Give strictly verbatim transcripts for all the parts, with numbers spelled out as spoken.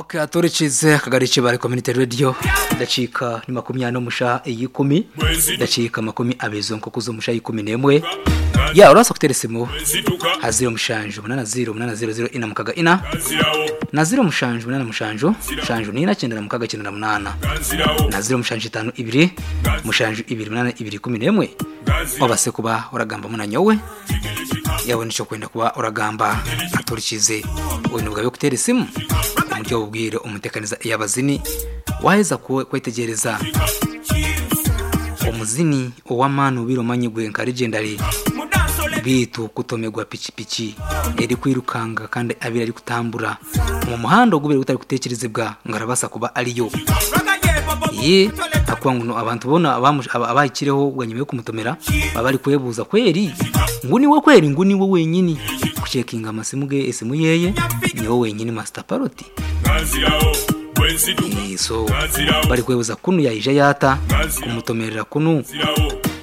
Okay, aturekize akagari kibare community radio dakika ni makumi ano musha eyikumi dakika makumi abezo nkokuzo musha ikumi nemwe ya urasa kutera isimu ha zero mushanju munana zero munana zero zero ina mukaga ina na zero mushanju munana mushanju mushanju nina cyenda na mukaga cyenda na munana na zero mushanju itanu ibiri mushanju ibiri munana ibiri kumi nemwe wabase kuba uragamba munanyowe yawe nico kwenda kuba uragamba aturikize uyu bwawe kutera isimu umuryo bubwire umutekaniza iyabazini waheza kwetegereza omuzini ow'amaani ubiro manyigwe nka legendary bitu kutomegwa pikipiki eri kwirukanga kandi abiri ari kutambura mu muhanda ogubire gutari kutekerezebwa ngo arabasa kuba ariyo ye akuba ngo abantu bona abahikireho bwa nyuma yo kumutomera baba bari kwebuza kweri ngo niwe kweri ngo niwe wenyini kucekinga amasimu ge esimu yeye niwe wenyini master paroti so bari kwebuza kunu yayija yata kumutomerera kunu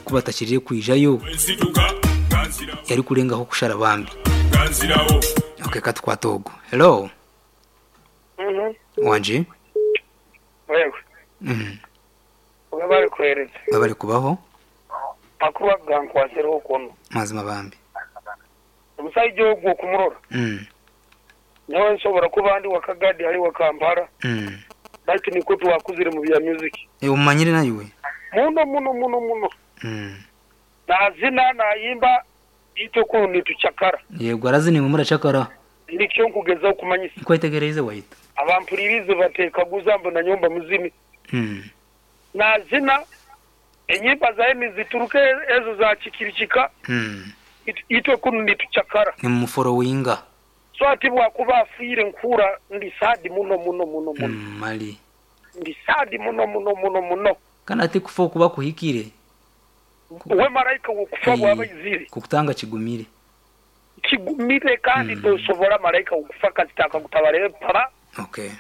kubatakiriye kwijayo yari kurengaho kushara bambi okay katwatogo hello Mhm. wanje Wewe mhm ubabare kwereza bari kubaho makuru agankwasiraho kono mazima bambi omusajja ogwo okumurora mm nawe nsobora kuba ndi wakagadi ali wa Kampala mm lakini kwetu wakuzire mu bya music e umanyire nayiwe muno muno muno muno mm nazina nayimba itwe kunu nituchakara yego arazini mu murachakara nikyo nkugezaho kumanyisa nkwetegereze wahita abampulirize batekaguza mbu na nyumba muzimi mm nazina enyimba zaye nizituruke ezo za chikirichika mm it- itwe kunu nituchakara ni muforowinga so ati bwakuba afiire nkura ndi sadi muno muno muno muno mm, mali ndi sadi muno muno muno muno kana ati kufa kuba kuhikire we marayika wokufa bwaba izire kukutanga kigumire kigumire kandi Mm. tosobora marayika wokufa kazitaka kutabare para okay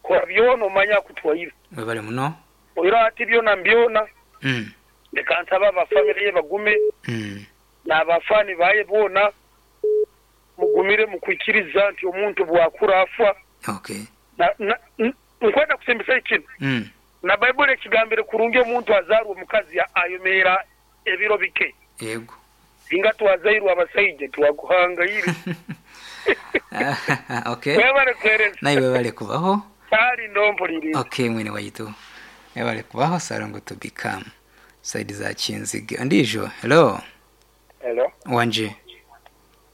kora byona omanya kutwaire webale muno oira ati byona mbyona mm leka nsaba abafamily ye bagume mm n'abafani baye bona mugumire mukwikiriza nti omuntu bwakura afa okay Na- na- n- nkwenda kusimbisa ikintu mm na bayibuli ekigambire kurungi omuntu azaarwa omukazi ayomera ebiro bike yego singa twazairwe abasaija twakuhangayire okay webale kwereza nawe webale kubaho kali ndompuliriza okay mwene waitu webale kubaho sarongo to become side za kinzige andijo hello Hello. wanje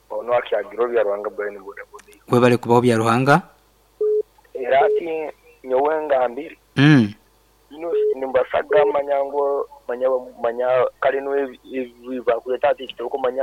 Ono akyagiro bya Ruhanga Brian Boda Boda. webale kubaho bya Ruhanga Era ati nyowe ngambire mm ino nimbasaga manyango manya manya kale no ebiba kuleta ati kitoko manya